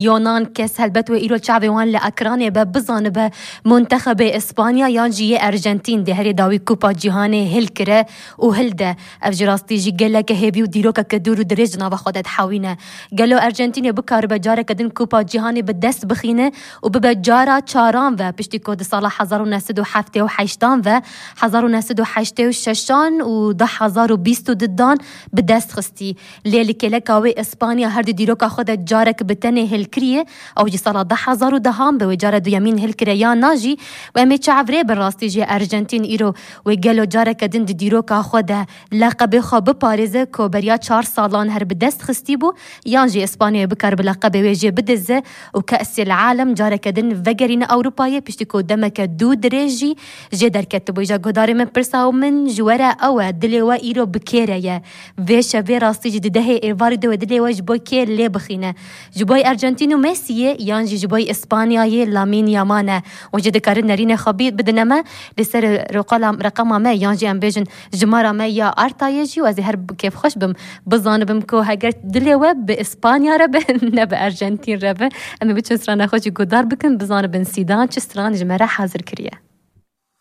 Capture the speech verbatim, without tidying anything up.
Yonan kes helbet wê îro çavê wan li ekranê be, bizanibe muntexebê Îspanya yan jî yê Erjentîn dê herê dawî Kupa Cîhanê hilkire û hilde. Ev ji rastî jî geleke hêvî û dîrokeke dûr û dirêj di nava xwe de dihewîne. Gelo Erjentînê bikaribe careke din Kupa Cîhanê bi dest bixîne û bibe cara çaran ve, piştî ku di sala hezar û neh sed û heftê û heştan ve hezar û neh sed û heştê û şeşan û du hezar û bîst û dudan bi dest xistî. Lê li kêleka wê Îspanya her di dîroka xwe de carek bi tenê hilkiriye. Ew jî sala du hezar û dehan bi wê cara duyemîn hilkire ya na jî. Û em ê çav rê bin rastî jî Erjentîn îro wê gelo careke din di dîroka xwe de leqebê xwe biparêze ku beriya çar salan her bi dest xistî bû, yan jî Îspanyayê bikar bi leqebê wê jê bidize û Kesê li Alem careke din vegerîne Ewropayê, piştî ku demeke dû dirêj jî jê derketibû. Îja guhdarê min pirsa û min ji we re ew e, dilê we îro bi kê re ye? Vê şevê rastî jî di dehê êvarî de wê dilê we ji bo kê lê bixîne? Ji bo Erjentîn û Messiyê yan jî ji bo Îspanyayê Lamîn Yamal e? Hûn jî dikarin nerînê xwe bî-, bidine me li ser roqala, reqama me yan jî em bêjin jimara me ya Artayê jî û ez ê her bi kêfxweş bim. Bizanibim ku heger dilê we bi Îspanya re be, ne bi Erjentîn re be. Em ê biçin strana xwe jî guhdar bikin, bizanibin Sîdan çi stran ji me re hazir kiriye.